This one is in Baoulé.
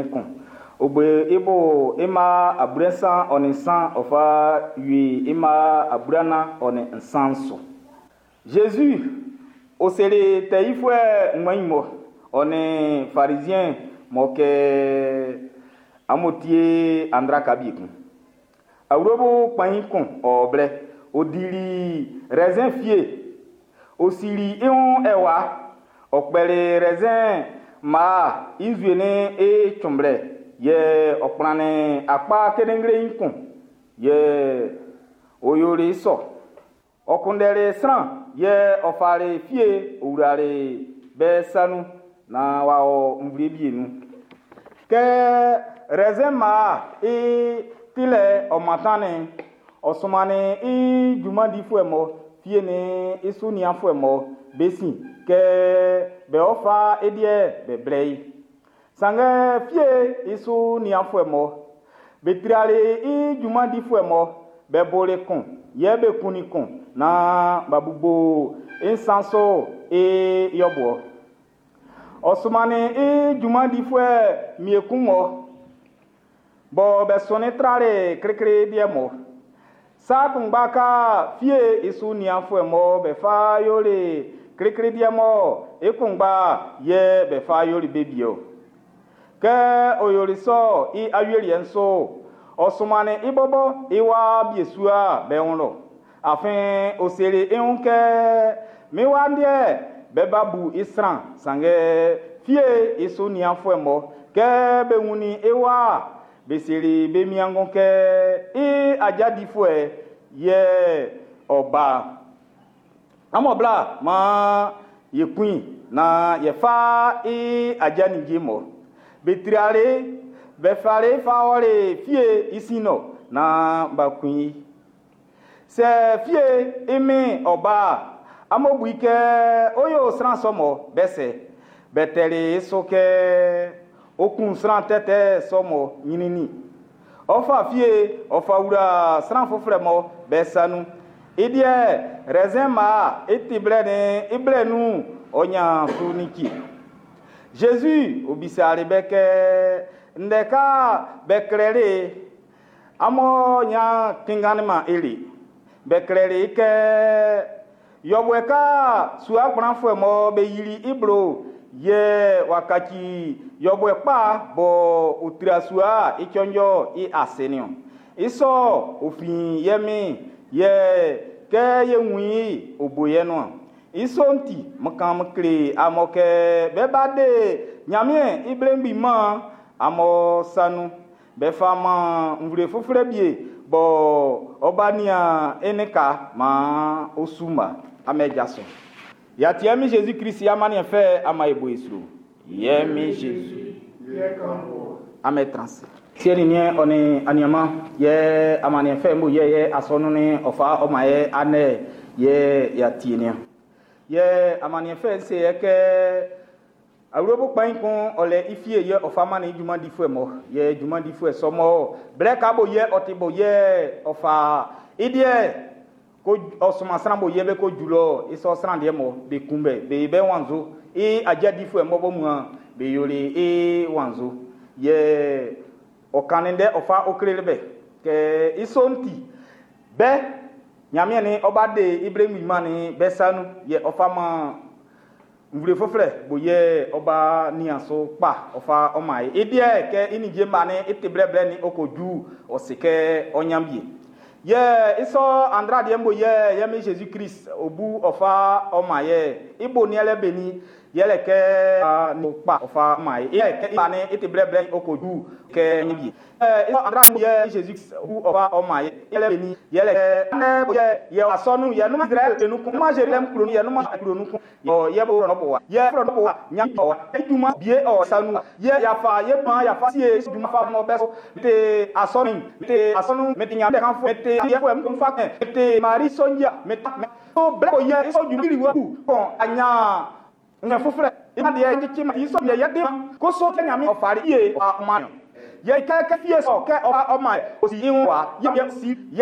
51 ɔ bo i bo i mma 33 ɔ fa wie i mma 43 su. Zezi ɔ seli tɛ yifuɛ ngbɛn mɔ ɔ nin Farizien mɔ kɛ amun tie andraka bi kun. Awlobo kpɛn kun ɔ blɛ ɔ dili raisin fie ɔ sili i wun ɛwa ɔ kpɛli raisin mma i nzue ni i cunblɛ yɛ ɔ kplannin akpa kendenglein kun yɛ ɔ yoli sɔ. Ɔ kunndɛli sran yɛ ɔ fali fie ɔ wlali be sa nun naan w'a wɔ nvle wie nun. Kɛ raisin mma i tilɛ ɔ mantannin ɔ sunmannin i junman difuɛ mɔ fie ni i su nianfuɛ mɔ be sin kɛ be ɔ fa i deɛ be blɛ i. Sanngɛ fie i su nianfuɛ mɔ be trali i junman difuɛ mɔ be boli kun yɛ be kunnin kun naan b'a bubu i nsan so i yɔbuɛ. Ɔ sunmannin i junman difuɛ mie kun mɔ bɔ be sɔnnin trali klikli deɛ mɔ. Sa kunngba ka fie i su nianfuɛ mɔ be fa yoli klikli deɛ mɔ i kunngba yɛ be fa yoli be bie o. Kɛ ɔ yoli sɔ i awieliɛ'n so ɔ sunmannin i bɔbɔ i wa biesua be wun lɔ. Afin ɔ seli i wun kɛ min wa deɛ be ba bu i sran sanngɛ fie i su nianfuɛ mɔ kɛ be wunnin i wa be seli be miangun kɛ i aja difuɛ yɛ ɔ ba. Amun bla maan yɛ kun i naan yɛ fa i aja ninnge mɔ. Be triali be fali fa ɔli fie i sin nɔ naan b'a kun i. Sɛ fie i min ɔba amun bu i kɛ o yo sran sɔ mɔ bɛ sɛ bɛ tɛli i so kɛ o kun sran tɛtɛ sɔ mɔ ɲinini. Ɔ fa fie ɔ fa wla sran foforɔ mɔ bɛ sa nun. I deɛ raisin ma i ti blɛ ni i blɛ nun ɔ nya su ni ki. Jésus ɔ bisali bɛ kɛ ndɛ ka bɛ klɛli amun nya kinganni ma eli. Bɛ klɛli kɛ yɔbuɛ ka sua kplanfuɛ mɔ be yili i blo yɛ wakaci yɔbuɛ kpa bɔ o tira sua i tsɔndzɔ i ase ni o. I sɔ ofin yɛ mi yɛ kɛ ye wun i o bo yɛ nua. I sɔ'n ti mo kan mo kle amɔ kɛ bɛ ba de Ɲanmiɛn i blenbi man amɔ sanu bɛ fa man nvle foforɔ bie bɔ ɔba nia ene ka ma osu ma amɛ dza so. Yatiɛ mi Jésus Christ amaniɛ fɛ ama ebo esro. Yɛ mi Jésus. Amɛ transi. Siɛ ni niɛ ɔni aniama yɛ amaniɛ fɛ mo yɛ yɛ asɔnu ni ɔfa ɔma yɛ anɛ yɛ yatie nia. Yɛ amaniɛ fɛ se yɛ kɛ awurobo kpan kun ɔlɛ ifie yɛ ɔfa ma ni junman difuɛ mɔ yɛ junman difuɛ sɔmɔ blɛ ka bo yɛ ɔti bo yɛ ɔfa idiɛ ko ɔsoma sran bo yɛ bɛ ko julɔ isɔ sran deɛ mɔ be kunbɛ be bɛ wanzo i adza difuɛ mɔ bɔ mua be yoli i wanzo yɛ ɔkani dɛ ɔfa oklele bɛ kɛ isɔ ŋti bɛ Ɲanmiɛn ni ɔba de ibrahim ma ni bɛ sanu yɛ ɔfa ma nvle foforɔ bo yɛ ɔba niaso kpa ɔfa ɔma ye ediɛ kɛ inidie ma ni ete blɛblɛ ni okodu ɔsi kɛ ɔnyambie yɛ isɔ andra deɛ mo yɛ yɛ mi Jésus Christ obu ɔfa ɔma yɛ ibo ni ɛlɛ beni yɛlɛ kɛ a ni kpa ɔfa ɔma ye yɛ kɛ ma ni ete blɛblɛ okodu kɛ ɔnyambie yɛ isɔ andra yɛ Jésus obu ɔfa ɔma ye yɛlɛ beni yɛlɛ kɛ anɛ bo yɛ yɛ asɔnu yɛ numa Israël enukun numa Jérusalem kuro yɛ numa kuro nukun ɔ yɛ bo rɔ bo wa yɛ rɔ bo wa nya ɔ eduma bie ɔ sanu yɛ yafa yɛ ma yafa sie duma fa mɔ bɛ so te asɔnu te asɔnu mɛ te nya bɛ kan fɔ mɛ te yɛ fɔ mɛ fa kɛ te mari sɔnja mɛ ta mɛ to blɛ ko yɛ sɔ ju kiri wa ku kɔn anya ŋɛ foforɔ ima deɛ kyekye ma isɔ yɛ yɛ de ma ko so kɛ nyame ɔfari yie ɔma yɛ kɛ kɛ fie sɔ kɛ ɔfa ɔma osi ihu wa yɛ yɛ si yɛ.